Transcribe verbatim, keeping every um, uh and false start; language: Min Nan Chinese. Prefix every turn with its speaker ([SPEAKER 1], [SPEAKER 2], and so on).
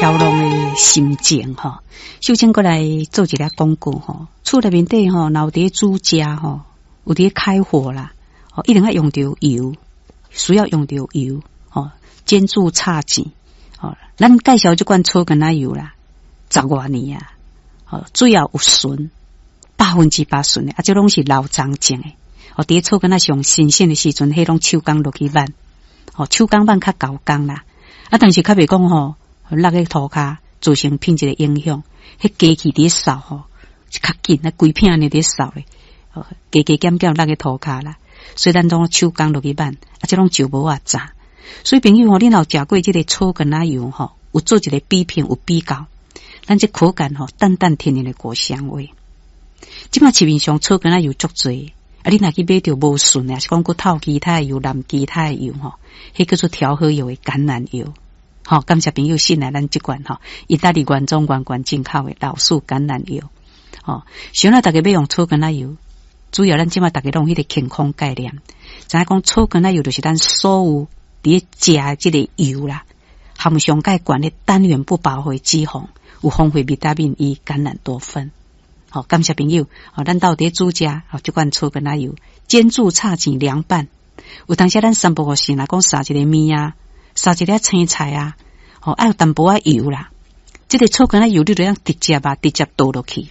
[SPEAKER 1] 飄浪的心情吼。首先閣來做一个廣告吼，厝內面底吼，若有佇咧煮食吼，有佇咧開火啦，吼，一定愛用著油，需要用著油，吼，煎煮炒煎，吼，咱介紹這款草根仔油啦，十外年啊，吼，主要有純，百分之百純的，啊，這攏是老欉種的，哦，佇咧草根仔上新鮮的時陣，彼攏手工落去挽，吼，手工挽較厚工啦，啊，但是較袂講吼，落去塗跤造成品質的影響，彼機器佇咧掃吼，是較緊，啊，規片按呢佇咧掃咧，哦，加加減減落去塗跤啦，所以咱攏手工落去挽，啊，這攏石磨仔榨。所以朋友吼，你若有食過這個草根仔油吼，有做一個比拼，有比較，咱這口感吼，淡淡天然的果香味。這馬市面上草根仔油足濟，啊，你若去買著無純的，抑是講閣透其他的油、淋其他的油吼，彼叫做調和油的橄欖油。吼，感謝朋友信賴咱這款吼，意大利原裝原罐進口的老樹橄欖油。吼，想咱逐家欲用草根仔油，主要咱這馬逐家攏有彼個健康概念，知影講草根仔油就是咱所有佇咧食的這個油啦，含上蓋懸的單元不飽和脂肪，有豐富維他命 E、橄欖多酚。吼，感謝朋友，吼，咱兜佇咧煮食，吼，這款草根仔油煎煮炒煎涼拌，有當時咱三不五時若講撒一個麵啊，撒一粒青菜啊，吼，愛有淡薄仔油啦。這個草根仔油你就通直接啊，直接倒落去。